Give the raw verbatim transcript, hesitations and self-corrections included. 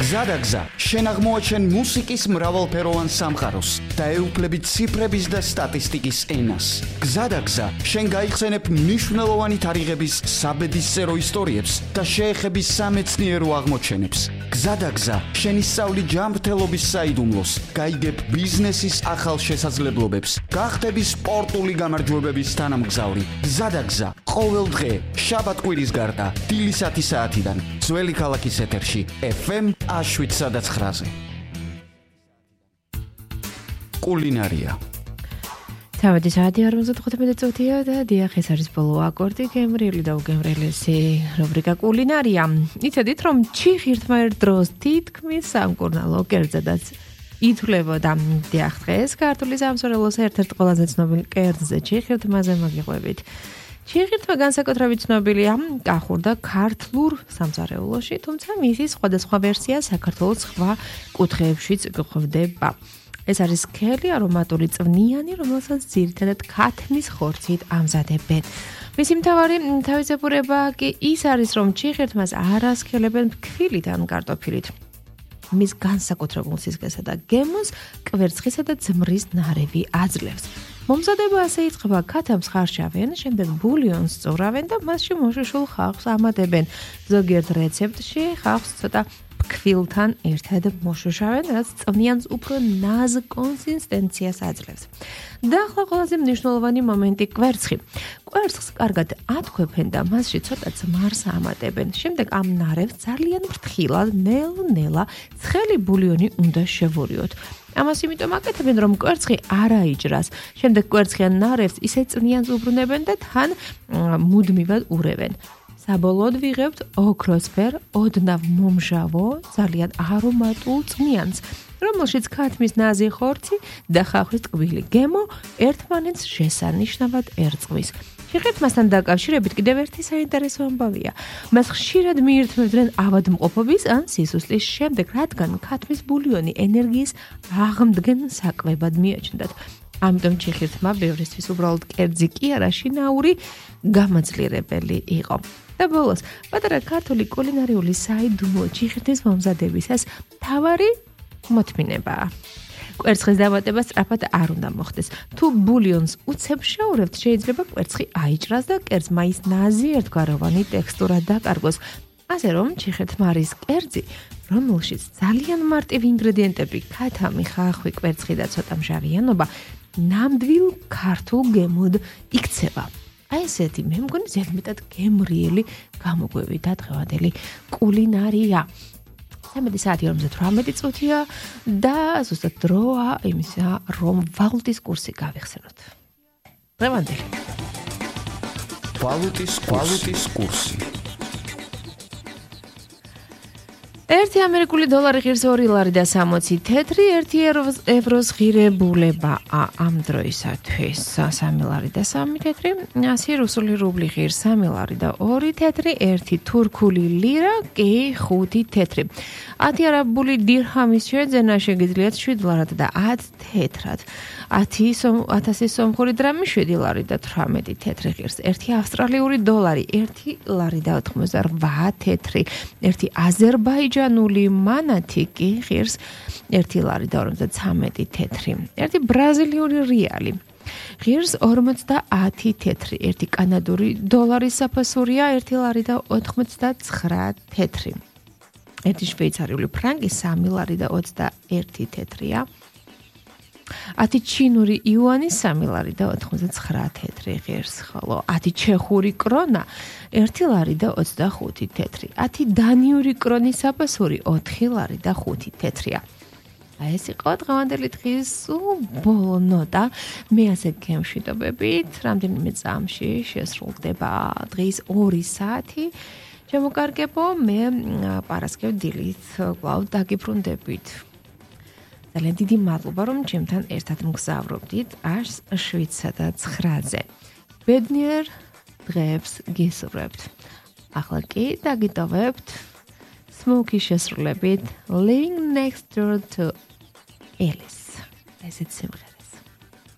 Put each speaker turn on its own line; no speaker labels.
გზადაგზა, შენ აღმოაჩენ მუსიკის მრავალფეროვან სამყაროს და ეუფლები ციფრების და სტატისტიკის ენას. გზადაგზა, შენ გაიხსენებ მნიშვნელოვანი თარიღების საბედისწერო ისტორიებს და შეეხები სამეცნიერო აღმოჩენებს. გზადაგზა, შენ ისწავლი ჯანმრთელობის საიდუმლოს, გაიგებ ბიზნესის ახალ შესაძლებლობებს, გახდები სპორტული გამარჯვებების თანამგზავრი. გზადაგზა, ყოველ დღე, შაბათ-კვირის გარდა, დილისათი საათიდან, ძველი ქალაქის ეთერში, ეფ ემ შვიდ ცხრაზე. კულინარია.
თავადი საათი ორმოცდახუთმეტი წუთია და დიახ, ეს არის ბოლო აკორდი, გემრიელი და უგემრიელესი რუბრიკა კულინარია. იცოდით, რომ ჩიხირთმა ერთ დროს თითქმის სამკურნალო კერძადაც ითვლებოდა. დიახ, დღეს ქართული სამსახურის ერთ-ერთ ყველაზე ცნობილ კერძზე ჩიხირთმაზე მოგიყვებით. ჩიხირთმა განსაკუთრებით ცნობილია კახურ და ქართლურ სამზარეულოში, თუმცა მისი სხვადასხვა ვერსია საქართველოს სხვა კუთხეებშიც გვხვდება. ეს არის სქელი არომატული წვნიანი, რომელსაც ძირითადად ქათმის ხორცით ამზადებენ. მისი მთავარი თავისებურება კი ის არის, რომ ჩიხირთმას არ ასქელებენ ფქვილით ან კარტოფილით. მის განსაკუთრებულ სისქესა და გემოს კვერცხისა და ძმრის ნარევი აძლევს. მომზადება ასე იწყება: ქათამს ხარშავენ, შემდეგ ბულიონს სწურავენ და მასში მოშუშულ ხავსს ამატებენ. ზოგიერთ რეცეპტში ხავსს ცოტა ფქვილთან ერთად მოშუშავენ, რაც წვნიანს უფრო ნაზ კონსისტენციას აძლევს. და ახლა ყველაზე მნიშვნელოვანი მომენტი კვერცხი. კვერცხს კარგად ათქვეფენ და მასში ცოტა ძმარს ამატებენ. შემდეგ ამ ნარევს ძალიან ფრთხილად, ნელ-ნელა ცხელი ბულიონი უნდა შევურიოთ. ამას იმიტომ აკეთებენ, რომ კვერცხი არ აიჭრას. შემდეგ კვერცხიან ნარევს ისე წვნიანს უბრუნებენ და თან მუდმივად ურევენ. საბოლოოდ ვიღებთ ოქროსფერ, ოდნავ მომჟავო, ძალიან არომატულ წვნიანს, რომელშიც ქათმის ნაზი ხორცი და ხახვის ტკბილი გემო ერთმანეთს შესანიშნავად ერწყმის. ჩიხირთმასთან დაკავშირებით კიდევ ერთი საინტერესო ამბავია. მას ხშირად მიირთმევდნენ ავადმყოფობის ან სისუსლის შემდეგ, რადგან ქათმის ბულიონი ენერგიის აღმდგენ საკვებად მიაჩნდათ. ამიტომ ჩიხირთმა ბევრისთვის უბრალოდ კერძი კი არა, შინაური გამაძლიერებელი იყო. და ბოლოს, პატარა ქართული კულინარიული საიდუმლო ჩიხირთმის მომზადებისას მთავარი მოთმინებაა. კვერცხის დამატება სწრაფად არ უნდა მოხდეს. თუ ბულიონს უცებ შევურევთ, შეიძლება კვერცხი აიჭრას და კერძმა ის ნაზი ერთგვაროვანი ტექსტურა დაკარგოს. ასე რომ, ჩიხირთმა არის კერძი, რომელშიც ძალიან მარტივი ინგრედიენტები, ქათამი, ხახვი, კვერცხი და ცოტა მჟავიანობა ნამდვილ ქართულ გემოდ იქცევა. აი ესეთი მე მგონი ზედმეტად გემრიელი გამოგვევი და დღევანდელი კულინარია. სამედი საათი ორმოცდათვრამეტი წუთია და ზუსტად დროა იმისა, რომ ვალუტის კურსი გავიხსენოთ. დღევანდელი
ვალუტის ვალუტის კურსი.
ერთი ამერიკული დოლარი ღირს ორი ლარი და სამოცი თეთრი, ერთი ევროს ღირებულებაა ამ დროისათვის. სამი ლარი და სამი თეთრი, ასი რუსული რუბლი ღირს სამი ლარი და ორი თეთრი, ერთი თურქული ლირა კი ხუთი თეთრი. ათი არაბული დირჰამის შეძენა შეგიძლიათ შვიდ ლარად და ათ თეთრად. ათასი სომხური დრამი შვიდი ლარი და თვრამეტი თეთრი ღირს. ერთი ავსტრალიური დოლარი ერთი ლარი და ოთხმოცდარვა თეთრი. ერთი აზერბაიჯანული მანათი კი ღირს ერთი ლარი და ორმოცდაცამეტი თეთრი. ერთი ბრაზილიური რეალი ღირს ორმოცდაათი თეთრი. ერთი კანადური დოლარის საფასურია ერთი ლარი და ოთხმოცდაცხრა თეთრი. ერთი შვეიცარიული ფრანკი სამი ლარი და ოცდაერთი თეთრია. ათი ჩინური იუანი სამი ლარი და ოთხმოცდაცხრა თეთრი ღირს, ხოლო ათი ჩეხური კრონა ერთი ლარი და ოცდახუთი თეთრი. ათი დანიური კრონის საფასური ოთხი ლარი და ხუთი თეთრია. აი ეს იყო დღევანდელი დღის ბოლო ნოტა. მე ასე გემშვიდობებით, რამდენიმე წამში შესრულდება დღის ორი საათი. შემოკარგებო, მე პარასკევ დილით კვლავ დაგიბრუნდებით. ძალიან დიდი მადლობა, რომ ჩემთან ერთად მგზავრობდით შვიდ ცხრაზე. ბედნიერ დღეებს გისურვებთ. ახლა კი დაგიტოვებთ Smokey შესრულებით Laying Next Door to Alice. ესეც სიმღერა.